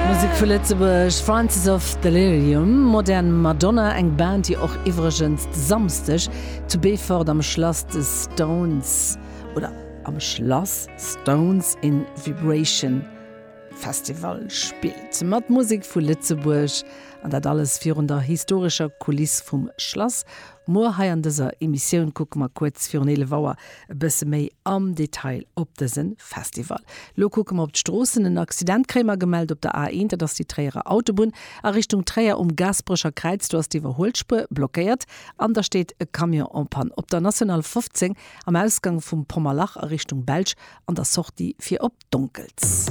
Musek vu Lëtzebuerg, Francis of Delirium, Modern Madonna, eng Band déi och iwwregens de Samsdeg zu Beefort am Schlass de Stones oder am Schlass Stones in Vibration Festival spillt. Mat Musek vu Lëtzebuerg an dat alles virun der historescher Kuliss vum Schlass. Muer hei an dëser Emissioun kucke mer kuerz virun 11 Auer e bësse méi am Detail op dëse Festival. Lo kucke mer op d'Stroossen. En Accident kréie mer gemellt op der A1, dat ass déi Tréierer Autobunn a Richtung Tréier um Gaasperecher Kräiz. Do ass d'Iwwerhuelspuer blockéiert an da steet e Camion en panne op der National 15 am Ausgang vum Pommerlach a Richtung Belsch an der Sortie fir op Donkels.